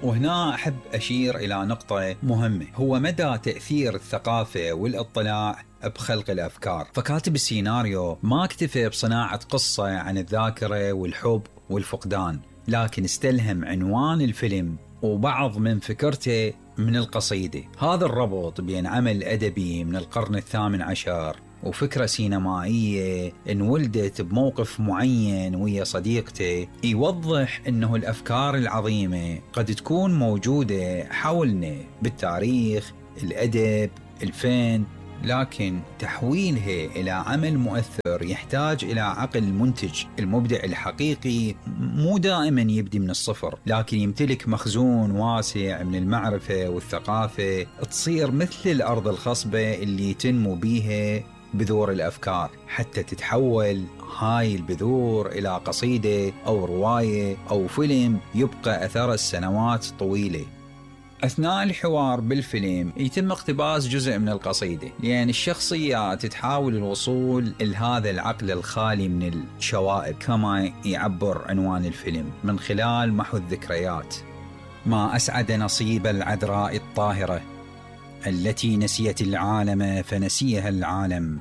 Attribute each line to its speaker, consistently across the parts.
Speaker 1: وهنا أحب أشير إلى نقطة مهمة، هو مدى تأثير الثقافة والاطلاع بخلق الأفكار. فكاتب السيناريو ما اكتفى بصناعة قصة عن الذاكرة والحب والفقدان، لكن استلهم عنوان الفيلم وبعض من فكرته من القصيدة. هذا الربط بين عمل أدبي من القرن ال18 وفكرة سينمائية انولدت بموقف معين ويا صديقته يوضح انه الأفكار العظيمة قد تكون موجودة حولنا بالتاريخ، الأدب، الفن، لكن تحويلها إلى عمل مؤثر يحتاج إلى عقل منتج. المبدع الحقيقي مو دائما يبدي من الصفر، لكن يمتلك مخزون واسع من المعرفة والثقافة، تصير مثل الأرض الخصبة اللي تنمو بيها بذور الأفكار حتى تتحول هاي البذور إلى قصيدة أو رواية أو فيلم يبقى أثر السنوات الطويلة. أثناء الحوار بالفيلم يتم اقتباس جزء من القصيدة، لأن الشخصيات تحاول الوصول لهذا العقل الخالي من الشوائب كما يعبر عنوان الفيلم من خلال محو الذكريات. ما أسعد نصيب العذراء الطاهرة التي نسيت العالم فنسيها العالم،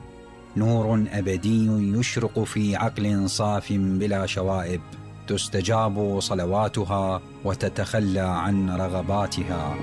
Speaker 1: نور أبدي يشرق في عقل صاف بلا شوائب، تستجاب صلواتها وتتخلى عن رغباتها.